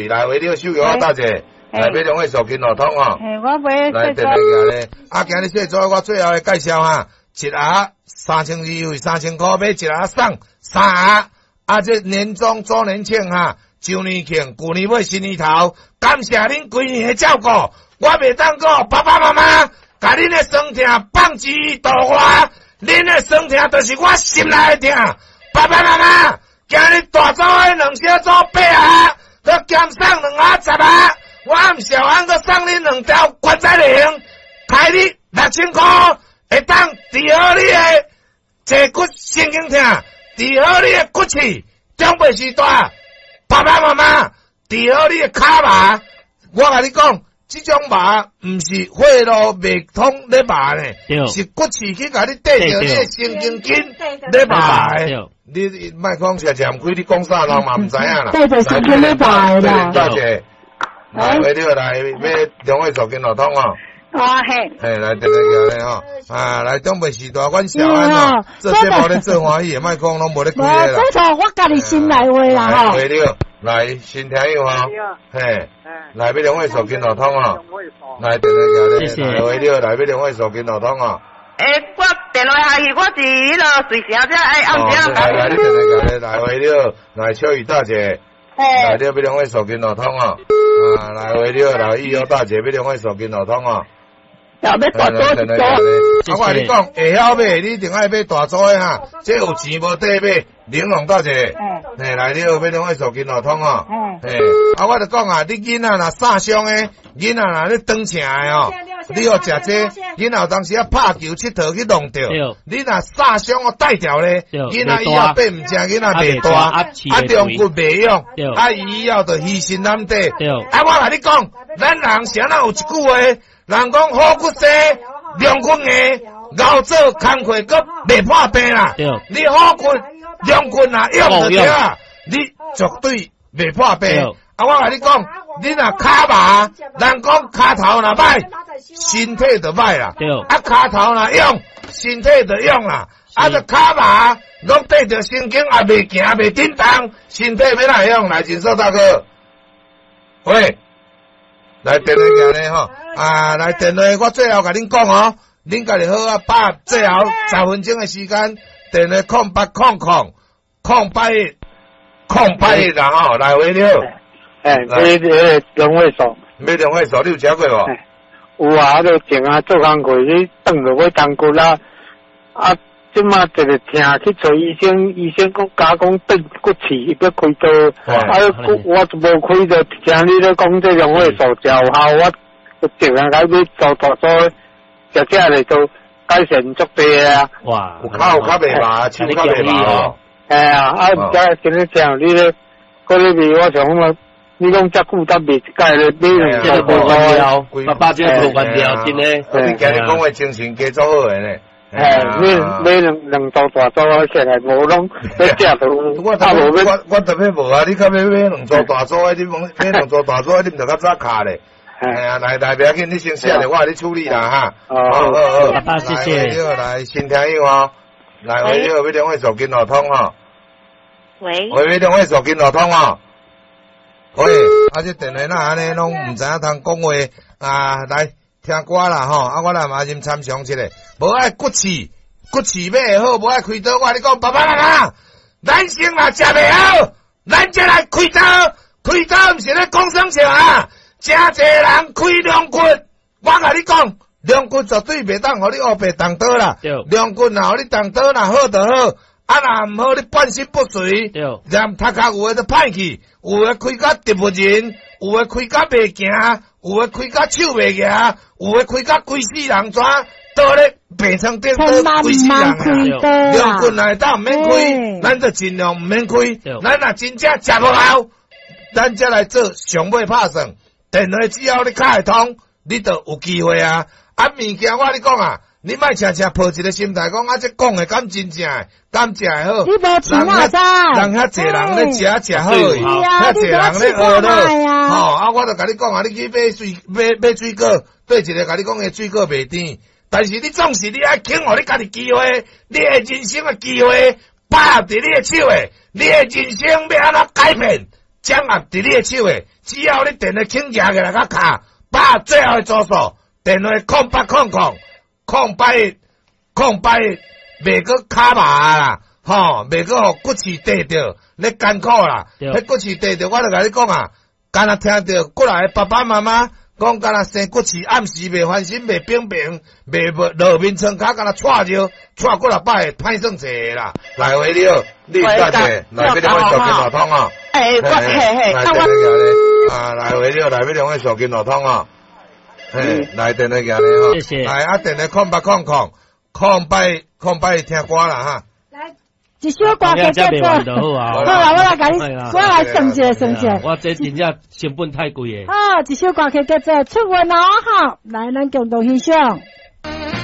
來喂，你手搖大姐，來買兩位手機腦通哦。嘿，我買來電話咧，啊，今日小組我最後的介紹啊，一盒3200，優惠3000箍買一盒送三盒。啊，這年終周年慶哈，周年慶，舊年尾新年頭，感謝恁規年的照顧，我袂當講爸爸媽媽，共恁的酸痛放之度外，恁的酸痛就是我心內的痛。爸爸媽媽，今日大組的兩小組八盒，閣減送兩盒十盒，我毋小安閣送恁兩條關節靈，開你6000箍，會當治好你的坐骨神經痛。治好你的骨刺，長輩時代，爸爸媽媽治好你的跤麻。我共你講，這種麻毋是血路袂通咧麻呢，是骨刺去共你綴著你的神經筋咧麻的。你莫講食食毋開，你講啥人嘛毋知影啦。綴著神經咧麻的啦。大姐，來，你來買兩位手機腦通哦。哦嘿，嘿，來電話來吼，啊，來長輩時代，阮小安哦，做節目咧做歡喜的，莫講攏無咧開的啦。這錯我家己心內話啦吼。對了，來新聽友吼，嘿，來買兩位手機腦通哦，來電話來，謝謝。對了，來買兩位手機腦通哦。欸，我電話下去，我是彼个瑞城遮愛暗時來來，你電話來，來對了，來秋雨大姐，來你買兩位手機腦通哦，啊，來對了，來玉瑤大姐買兩位手機腦通哦。要買大組一組。啊，我共你講，會曉買，你一定愛買大組的哈。這有錢無底買，玲瓏大姐，嘿，來你好，買兩位手機腦通哦。嘿，啊，我就講啊，你囡仔若曬傷的，囡仔若咧斷腸的哦，你予食這，囡仔有當時啊拍球𨑨迌去弄著，你若曬傷哦帶掉咧，囡仔以後變毋正，囡仔袂大，啊中骨袂用，啊伊以後就虛心難底。啊，我共你講，咱人啥人有一句話？人講好骨生，良骨硬，熬做工課閣袂破病啦。你好骨良骨若用就對啊，你絕對袂破病。啊，我共你講，你若跤麻，人講跤頭若歹，身體就歹啦。啊，跤頭若用，身體就用啦。啊，這跤麻攏綴著神經也袂行，袂振動，身體欲哪會用？來，錦碩大哥，喂。來電話來吼，啊，來電話，我最後共恁講哦，恁家己好啊，把握最後10分鐘的時間，電話0800 081 081啦吼，來喂你好。欸，買兩位數。買兩位數，你有食過無？有啊，彼前啊做工課，你斷落尾動骨啊，啊，這馬一個疼去揣醫生，醫生講加講斷骨刺，欲開刀，啊骨我就無開刀，聽你咧講這兩位數誠有效，我淨係來買做大組，食食咧都改善足濟啊！哇，有跤有較袂麻，手較袂麻哦。嘿啊，啊毋知今日聽你咧，閣咧賣，我想講你講遮久才賣一擺咧，買兩這個無關掉，爸爸這個無關掉，真的。你今日講話精神加足好的呢。嘿，買買兩兩組大組，起來無攏欲食都我特我我特別無啊！你較欲買兩組大組的，你買買兩組大組的，你毋著較早卡咧。哎呀，來來，不要緊，你先寫咧，我來處理啦哈。好好好，爸爸謝謝。來，新聽友哦，來，喂，你好，買兩位手機腦通哦。喂。喂，買兩位手機腦通哦。喂，啊，這電話哪按呢攏毋知影通講話啊？來聽歌啦吼！啊，我來嘛先參詳一下，無愛骨刺，骨刺欲會好，無愛開刀。我共你講，爸爸媽媽，咱先若食袂好，咱才來開刀。開刀毋是咧講耍笑啊！誠濟人開龍骨，我共你講，龍骨絕對袂當予你烏白動刀啦。龍骨若予你動刀，若好就好，啊若毋好，你半身不遂。連頭殼有的就歹去，有的開甲植物人，有的開甲袂行，有的開甲手袂行，有的開甲規世人怎倒咧病床頂倒規世人啊！龍骨若會當毋免開，咱就盡量毋免開。咱若真正食無後，咱才來做上尾拍算。電話只要你敲會通，你就有機會啊！啊，物件我共你講啊，你莫常常抱一個心態講啊，這講的敢真正的，敢食會好？你無錢嘛知？人遐濟人咧食食好，遐濟人咧學咯。吼啊！我就共你講啊，你去買水買買水果，對一個共你講的水果袂甜，但是你總是你愛肯予你家己機會，你的人生的機會把握佇你的手的，你的人生欲按怎改變，掌握佇你的手的。只要你電話肯舉起來佮敲，把最後的組數，電話0800 081 081，袂閣卡麻啦，吼，袂閣予骨刺硩著，咧艱苦啦。彼骨刺硩著，我就共你講啊，敢若聽著過來的爸爸媽媽講，敢若生骨刺，暗時袂翻身，袂平平，袂落眠床跤，敢若掣尿，掣幾若擺，歹算濟啦。來喂，你好，你大姐，來欲兩位手機路通啊？欸，我嘿嘿，啊我啊，來喂，你好，來欲兩位手機路通啊？嘿，來電話寄咧吼，謝謝。來啊，電話0800 081 081聽歌啦哈。來，一首歌曲叫做。好啊，好啦，我來共你，我來算一下，算一下。我這真正成本太貴的。好，一首歌曲叫做《出運哦》哈，來，咱共同欣賞。